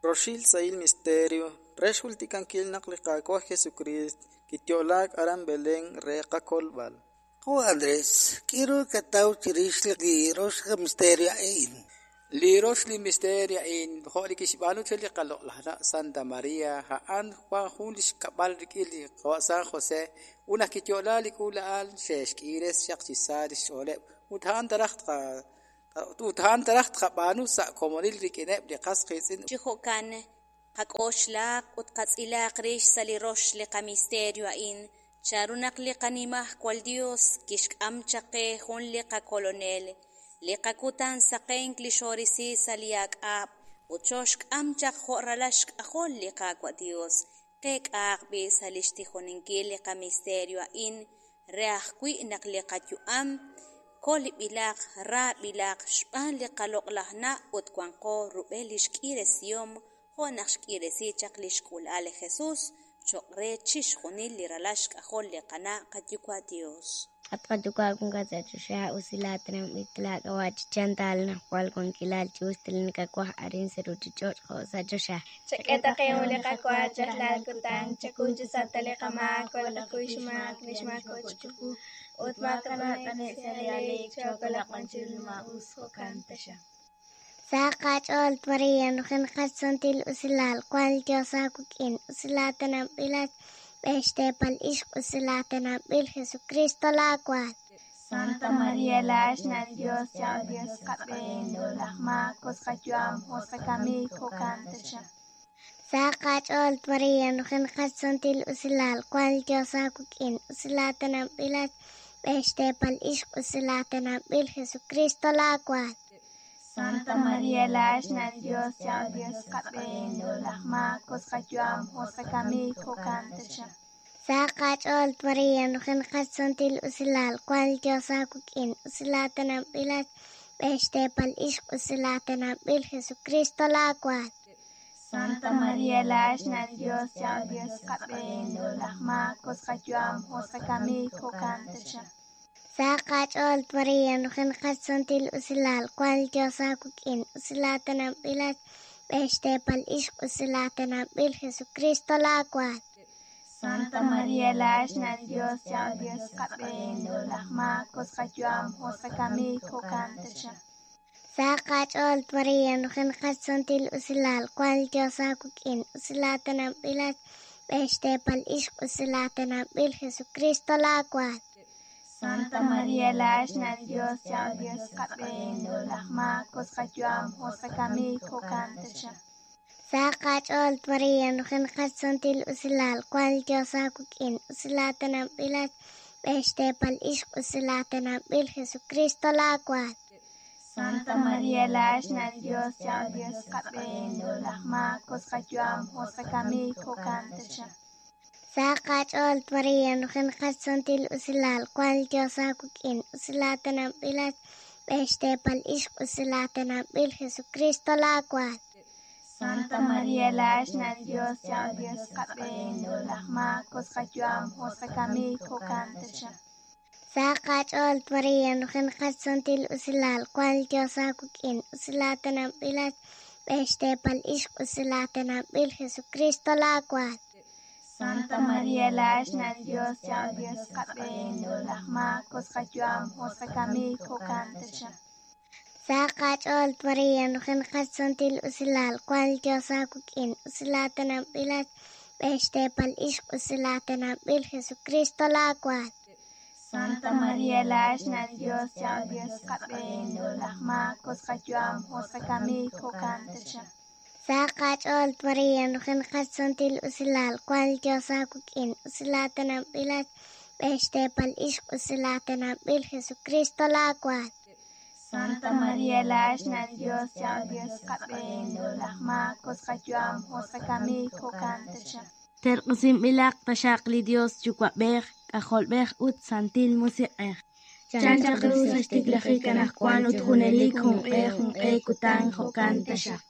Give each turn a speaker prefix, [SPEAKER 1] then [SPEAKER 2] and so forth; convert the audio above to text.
[SPEAKER 1] Roxil sahil misterio re xjultikankil naq li Qaawa' Jesukriist kiyo'laak aran Belén re qakolb'al.
[SPEAKER 2] Qawa' Andrés, k'a' ru kataw chi rix li rox misterio a'in?
[SPEAKER 3] Li rox li misterio a'in jo' li kixb'aanu chaq li qaloq'laj na' Santa María, a'an wan jun li xkab'al rik'in li qawa' San José ut naq kiyo'la li k'uula'al xe'xk'iires chaq chi sa li xch'ooleb' ut a'an taraj ut a'an taraj tqab'aanu sa' komonil rik'ineb' li qas qiitz'in.
[SPEAKER 4] Chi jo'kan, qak'oxlaq ut qatz'ilaq rix sa' li rox li qamisterio a'in, chanru naq li Qanimajwal Dios kixk'am chaq qe jun li qakolonel, li qakutan saqenk li xorisi sa' li ak'ab' ut xooxk'am chaq jo' ralal xk'ajol li Qaawa' Dios. Qeek'ahaq b'i' sa' li xtijoninkil li qamisterio a'in re ajwi' naq li qayu'am kolb'ilaq, raab'ilaq xb'aan li qaloq'laj na' ut wanqo rub'el li xk'iiresihom jo' naq xk'iiresi chaq li xk'uula'al li Jesús cho'q re chixjunil li ralal xk'ajol li qana' qayuwa' Dios.
[SPEAKER 5] At qayuwa' wankat sa' choxa, usilaatinanb'il laak'ab'a' chi chantal najwal wankilal chi us nakawaj arin sa' ruuchich'och' jo' sa' choxa.
[SPEAKER 6] Chak'e ta qe li qawa rajlal kutan, chakuy chi sa' ta li qamaak, walakuy xmaak li xmaako chiqu, ut maakanab' t'ane'k sa' li aaleek, chookolaq b'an chiru li maa'us, jo'kan taxaq.
[SPEAKER 5] Sa' qach'ool María, nujenaqat santil usilal, wank li Dios aawik'in, usilaatinanb'ilat xb'een xteepal ixq, usilaatinanb'il Jesucristo laawaal.
[SPEAKER 6] Santa María laa'at xna' li Dios, cha'al Dios qab'een, laj maak, us qayu'am, us qakamik, jo'kan taxaq.
[SPEAKER 5] Sa' qach'ool María, nujenaqat santil usilal, wank li Dios aawik'in, usilaatinanb'ilat xb'een xteepal ixq, usilaatinanb'il Jesucristo laawaal.
[SPEAKER 6] Santa María laa'at xna' li Dios, cha'al Dios qab'een, laj maak, us qayu'am, us qakamik, jo'kan taxaq.
[SPEAKER 5] Sa' qach'ool María, nujenaqat santil usilal, wank li Dios aawik'in, usilaatinanb'ilat xb'een xteepal ixq, usilaatinanb'il Jesucristo laawaal.
[SPEAKER 6] Santa María laa'at xna' li Dios, cha'al Dios qab'een, laj maak, us qayu'am, us qakamik, jo'kan taxaq.
[SPEAKER 5] Sa' qach'ool María, nujenaqat santil usilal, wank li Dios aawik'in, usilaatinanb'ilat xb'een xteepal ixq, usilaatinanb'il Jesucristo laawaal.
[SPEAKER 6] Santa María laa'at xna' li Dios, cha'al Dios qab'een, laj maak, us qayu'am, us qakamik, jo'kan taxaq.
[SPEAKER 5] Sa' qach'ool María, nujenaqat santil usilal, wank li Dios aawik'in, usilaatinanb'ilat xb'een xteepal ixq, usilaatinanb'il Jesucristo laawaal.
[SPEAKER 6] Santa María laa'at xna' li Dios, cha'al Dios qab'een, laj maak, us qayu'am, us qakamik, jo'kan taxaq.
[SPEAKER 5] Sa' qach'ool María, nujenaqat santil usilal, wank li Dios aawik'in, usilaatinanb'ilat xb'een xteepal ixq, usilaatinanb'il Jesucristo laawaal.
[SPEAKER 6] Santa María laa'at xna' li Dios, cha'al Dios qab'een, laj maak, us qayu'am, us qakamik, jo'kan taxaq.
[SPEAKER 5] Sa' qach'ool María, nujenaqat santil usilal, wank li Dios aawik'in, usilaatinanb'ilat xb'een xteepal ixq, usilaatinanb'il Jesucristo laawaal.
[SPEAKER 6] Santa María laa'at xna' li Dios, cha'al Dios qab'een, laj maak, us qayu'am, us qakamik, jo'kan taxaq.
[SPEAKER 5] Sa' qach'ool María, nujenaqat santil usilal, wank li Dios aawik'in, usilaatinanb'ilat xb'een xteepal ixq, usilaatinanb'il Jesucristo laawaal.
[SPEAKER 6] Santa María laa'at xna' li Dios, cha'al Dios qab'een, laj maak, us qayu'am, us qakamik, jo'kan taxaq.
[SPEAKER 5] Sa' qach'ool María, nujenaqat santil usilal, wank li Dios aawik'in, usilaatinanb'ilat xb'een xteepal ixq, usilaatinanb'il Jesucristo laawaal.
[SPEAKER 6] Santa María laa'at xna' li Dios, cha'al Dios qab'een, laj maak, us qayu'am, us qakamik, jo'kan taxaq.
[SPEAKER 5] Sa' qach'ool María, nujenaqat santil usilal, wank li Dios aawik'in, usilaatinanb'ilat xb'een xteepal ixq, usilaatinanb'il Jesucristo laawaal.
[SPEAKER 6] Santa María laa'at xna' li Dios, cha'al Dios qab'een, laj maak, us qayu'am, us qakamik, jo'kan taxaq.
[SPEAKER 7] Terq'usinb'ilaq taxaq li Dios Yuwa'b'ej, K'ajolb'ej ut Santil Musiq'ej. Chan chaq ru sa' xtiklajik anaqwan ut junelik junq'e junq'e kutan jo'kan taxaq.